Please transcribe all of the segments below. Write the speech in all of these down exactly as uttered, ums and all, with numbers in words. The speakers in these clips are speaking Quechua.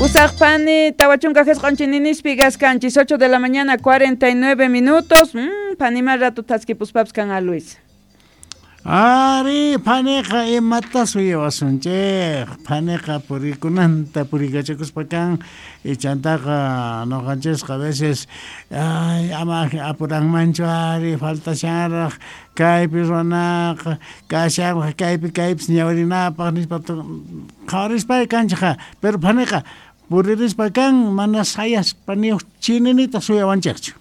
Usaqpani tawachunka jisq'un chininispi kaskanchis ocho de la mañana cuarenta y nueve minutos. Mm, panima rato thaskipuspapis kan a Luis. Ari, paniqa imata suyawasunchik, paniqa purikunanta purikachakuspa kan, ichantaqa nuqanchisqa a veces ay ama apuranmanchu ari faltashanraq kaypi ruwanaqa kashanraq kaypi kaypis ñawirinapaq nispa qhawarispa kanchikqa, pero paniqa puririspa kan mana sayaspa ni huk chininita suyawanchikchu.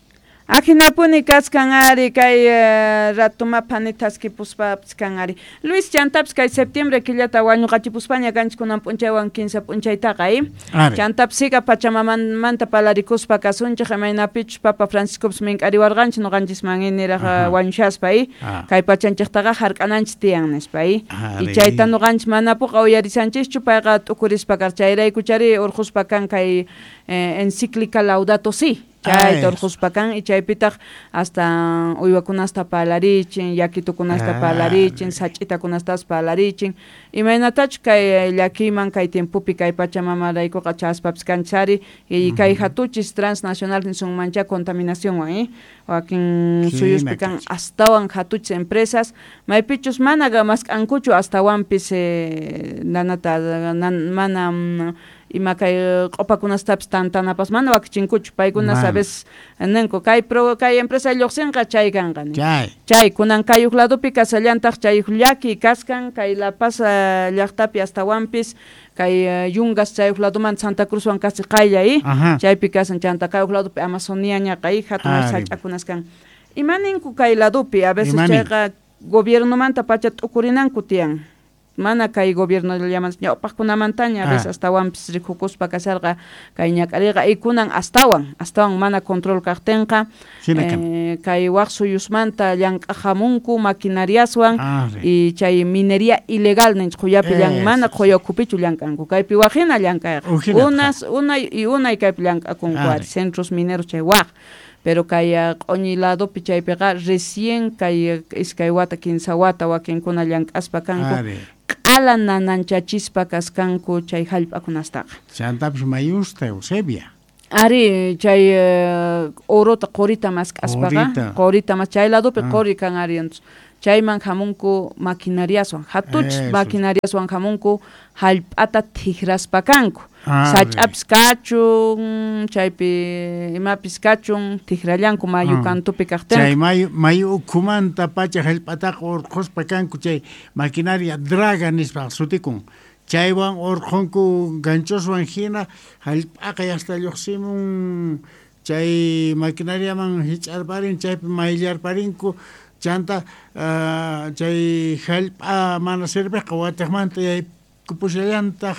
Ajinapuni kaskan ari kay uh, ratuma phani thaskipuspapis kan ari. Luis chantapis kay septiembre killata wañuqachipuspaña kanchik kunan p'unchaywan kinsa p'unchaytaqa eh? Chantapis siga pachamamanta palarikuspa kasunchik imaynapichus Papa Franciscopis mink'ariwarqanchik nuqanchisman niraq wañushaspa eh? Kay pachanchiktaqa hark'ananchik tiyan nispa eh? Y chayta nuqanchik manapuqa uyarisanchischu payqa t'ukurispa kar chayraykuchari urquspa kan kay eh, encíclica Laudato Si. Chayta urquspa kan y chaypitaq hasta uywakunasta parlarichin, yakitukunasta parlarichin, sach'itakunastapas parlarichin. Imaynatachu kay llakiyman kay tiempopi kay pachamamaraykuqa chaspapis kanchari y kay hatuchis transnacional nisunmancha contaminacionwan eh? Wakin suyuspi kan astawan hatuchis empresas maypichus mana mask'ankuchu astawanpis eh, nanata nan, mana ima kay q'upakunastapis tantanapas mana wakichinkuchu paykuna sabes ninku kay pro kay empresa lluqsinqa chay kanqa chay chay kunan kay huk ladopi kasallantaq chay huk llaki kaskan kay La Paz llaqtapi astawanpis kay Yungas chay huk ladomanta Santa Cruzwan kasi qaylla eh chaypi kasan chanta kay huk ladopi Amazonia ñaqa eh hatun sach'akunas kan ima ninku kay ladopi a veces chayqa gobiernomanta pacha t'ukurinanku tiyan mana kay gobierno llaman ñawpaqkunamantaña a veces astawanpis rikukuspa kasarqa kay ñak'ariqa y kunan astawan astawan mana control kaqtinqa eh, kay waq suyusmanta llank'ajamunku maquinariaswan y chay minería ilegal ninchik qullapi llan mana qulla ukhupichu llank'anku kaypi waqhina llank'ayqa unas unay y unay kaypi llank'akunku ari centros mineros chay waq pero kay q'uñi ladopi chaypiqa recién kay iskay wata kinsa wata wakinkuna llank'aspa kanku q'ala nananchachispa kaskanku chay hallp'akunastaqa. Chantapis mayusta Eusebia. Ari chay uh, orota qorita mask'aspaqa qorita mas chay ladopi qori kan ari entonces chayman hamunku maquinariaswan hatuchis maquinariaswan hamunku hallp'ata t'ikraspa kanku sach'apis kachun chaypi imapis kachun t'ikrallanku mayu kantupi kaqtinqa chay mayu mayu ukhumanta pacha hallp'ataqa urqhuspa kanku chay maquinaria draga nispa sutikun chaywan urqhunku ganchoswan hina hallp'aqa yasta lluqsimun chay maquinariaman hich'arparin chaypi mayllarparinku chanta uh, chay hallp'a mana serviqqa watiqmanta yaykupusallantaq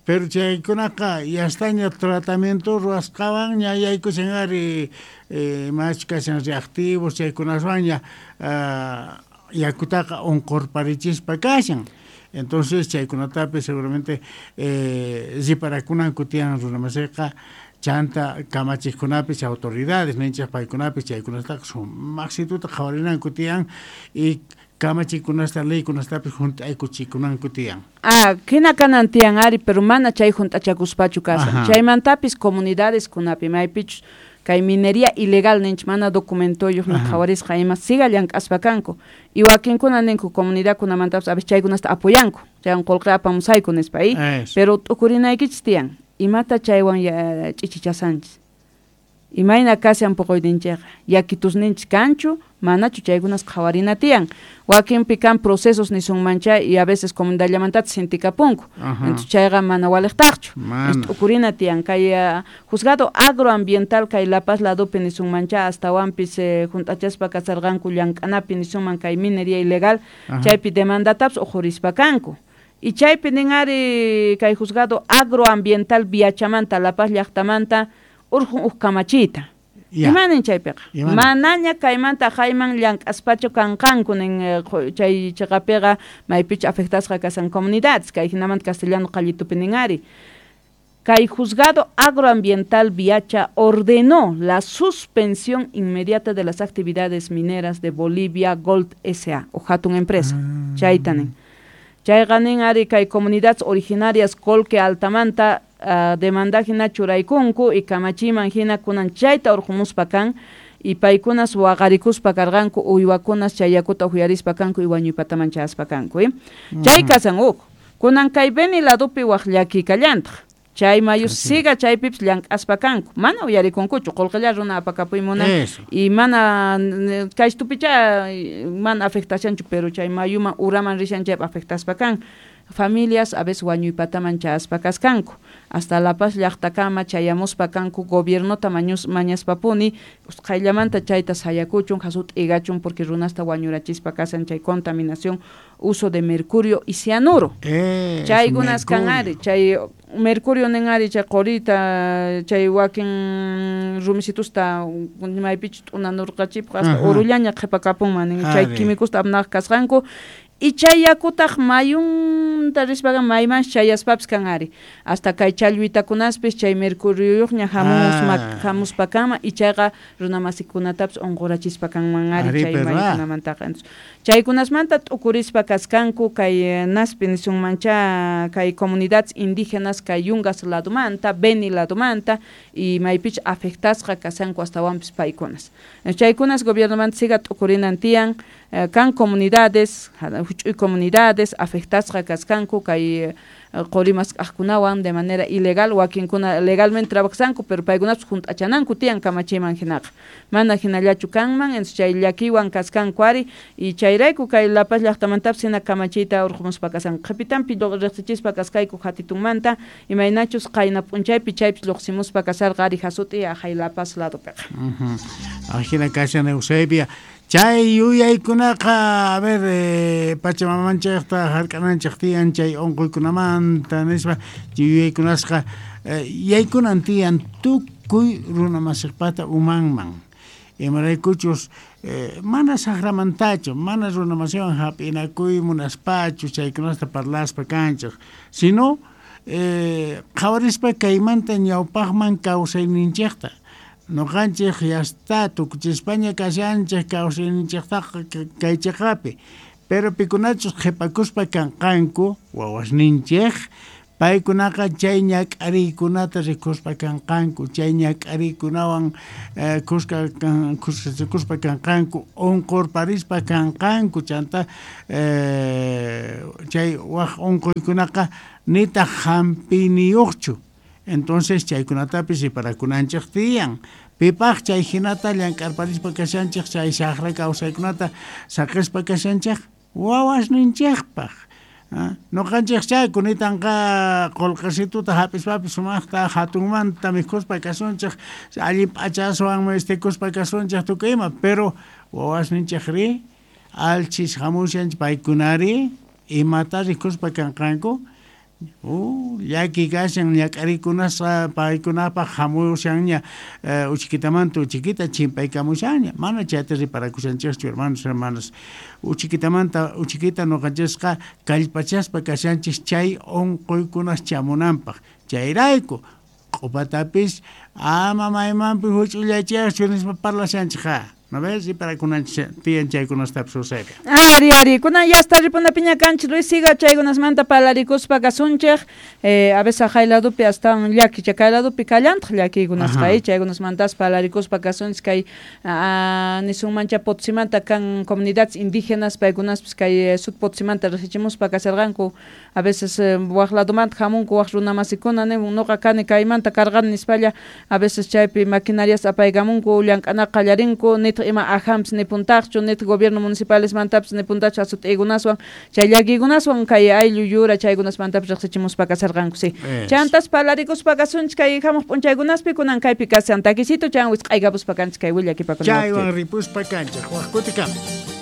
pero chaykunaqa yastaña tratamiento ruwasqawan ña yaykushan ari eh, machu kashan reactivos chaykunaswanña uh, yakutaqa unqurparichispa kashan. Entonces chaykunatapis seguramente eh, riparakunanku tiyan runamasiqa chanta kamachiqkunapis autoridades ninchik paykunapis chaykunataqa sumaqsituta qhawarinanku tiyan y kamachikunasta leykunastapis hunt'aykuchikunanku tiyan. Ah, hina kanan tiyan ari pero mana chay hunt'achakuspachu kasan. Chaymantapis comunidades kunapi maypichus kay minería ilegal ninchik mana documentoyuq ni qhawarisqa ima siga llank'aspa kanku y wakinkuna ninku comunidadkunamantapis a veces chaykunasta apoyanku chaywan qullqi apamusayku nispa eh? Pero t'ukurinaykichis tiyan imata chaywan ch'ichichasanchis imayna kashan puquyninchikqa yakitusninchik kanchu manachu chaykunas qhawarina tiyan wakinpi kan procesos nisunmancha y a veces comunidadllamantatas sintikapunku entonces chayqa mana waliqtaqchu t'ukurina tiyan kay uh, juzgado agroambiental kay La Paz ladopi nisunmancha astawanpis eh, hunt'achaspa kasarqanku llank'anapi nisunman kay minería ilegal chaypi demandatapis uqhurispa kanku y chaypi nin ari kay juzgado agroambiental Viachamanta La Paz llaqtamanta urqun huk kamachiyta. Imanin chaypiqa manaña kaymanta hayman llank'aspachu kanqanku nin chay chiqapiqa maypichu afectasqa kasan comunidades kay hinamanta castellano qallitupi nin ari kay juzgado agroambiental Viacha ordenó la suspensión inmediata de las actividades mineras de Bolivia Gold S A o hatun empresa chayta nin chayqa nin ari kay comunidades originarias Colque Altamanta uh, demanda hina churaykunku y kamachiman hina kunan chayta urqumuspa kan y paykunas waqarikuspa karqanku uywakunas chay yakuta uyarispa kanku y wañuypataman chayaspa kanku eh? Chay kasan huk kunan kay Beni ladupi waq llaki kallantaq chay mayu siga chaypipis llank'aspa kanku mana uyarikunkuchu qullqilla runa apakapuy munan y mana kaystupicha mana afectashanchu pero chay mayuman uraman rishan chaypi afectaspa kan familias a veces wañuypataman chayaspa kaskanku hasta La Paz llaqtakama chayamuspa kanku gobiernota mañus mañaspapuni usqhayllamanta chayta sayakuchun hasut'igachun porque runasta wañurachispa kasan chay contaminación uso de mercurio y cianuro chaykunas kan ari chay mercurio nin ari chay qurita chay wakin rumisitusta maypichu t'unanurqachipaq hasta urullaña qhipakapunman nin chay químicosta apnaq kasqanku y chay yakutaq mayunta rispaqa mayman chayaspapis kan ari hasta kay challwitakunaspis chay mercurioyuqña hamusma hamuspa kama y chayqa runamasikunatapis unqurachispa kanman ari chay mayukunamantaqa chaykunasmanta t'ukurispa kaskanku kay naspi nisunmancha kay comunidades indígenas kay Yungas ladumanta Beni ladumanta y maypich afectasqa kasanku astawanpis paykunas chaykunas gobiernomanta siga t'ukurinan tiyan kan comunidades huch'uy comunidades afectasqa kaskanku kay qurimasq'aqkunawan de manera ilegal wakinkuna legalmente trabajanku pero paykunapis hunt'achananku tiyan kamachiman hinaqa mana hinallachu kanman entonces chay llakiwan kaskanku ari y chayrayku kay La Paz llaqtamantapis hina kamachiyta urqumuspa kasanku qhipitanpi riqsichispa kaskayku hatitunmanta imaynachus qayna p'unchaypi chaypis lluqsimuspa kasarqa ari hasut'i aqhay La Paz ladupiqa. Ajina kashan Eusebia chay yuyaykunaqa a ver eh, pachamamanchikta hark'ananchik tiyan chay unquykunamanta nispa yuyaykunasqa eh, yaykunan tiyan tukuy runamasiqpata umanman imaraykuchus eh, mana saqramantachu mana runamasiwan hap'inakuy munaspachu chaykunasta parlaspa kanchik sino eh, qhawarispa kaymanta ñawpaqman kawsayninchikta noqanchik yasta tukuchispaña kashanchik kawsayninchiktaqa kay chiqapi pero pikunachus qhipakuspa kanqanku wawasninchik paykunaqa chay ñak'ariykunata rikuspa kanqanku chay ñak'ariykunawan eh, kuska kuskachakuspa kanqanku unqurparispa kanqanku chanta eh, chay waq unquykunaqa nitaq hampiniyuqchu. Entonces chaykunatapis riparakunanchik tiyan pipaq chay hinata llank'arparispa kashanchik chay saqra kawsaykunata saqispa kashanchik wawasninchikpaq noqanchik chay kunitanqa qullqisituta hap'ispapis sumaqta hatunmanta mikhuspa kasunchik allin p'achaswan mistikuspa kasunchik tukuy ima pero wawasninchikri alchis hamushanchik paykunari imata rikuspa kanqanku Uh, llaki kashan ñak'arikunasqa paykunapaq hamushanña uh, uchikitamanta uchikita chimpaykamushanña mana chayta riparakushanchikchu hermanos hermanas uchikitamanta uchikita nuqanchisqa kallpachaspa kashanchik chay unquykunas chamunanpaq chayrayku q'upatapis ama maymanpi huch'ullachiyaqchu nispa parlashanchikqa. ¿No ves? Y para kunanchik tiyan chaykunastapis Eusebia. Ari, ari, kunan yasta ripunapiña kanchik Luis siga chaykunasmanta parlarikuspa kasunchik eh, a veces aqhay ladupi astawan llaki chay kay ladupi kallantaq llakiykunasqa eh, chaykunasmantas parlarikuspa kasunchik kay nisunmancha Potsimanta kan comunidades indígenas paykunaspis kay sud Potsimanta riqsichimuspa kasarqanku a veces eh, waq ladumanta hamunku waq runamasikuna nin nuqa kani kaymanta karqani nispalla a veces chaypi maquinarias apaykamunku llank'anaqa qallarinku nitaq ima ajampis nipuntaqchu nitaq gobierno municipalesmantapis nipuntachu asut'iykunaswan chay llakiykunaswan kay ayllu yura chaykunasmantapis riqsichimuspa kasarqanku si chantas parlarikuspa kasunchik kay hamuq p'unchaykunaspi kunan kaypi kasan takisito chan wisq'aykapuspa kanchik kay willakipakuna chaywan ripuspa kanchik waq kutikama.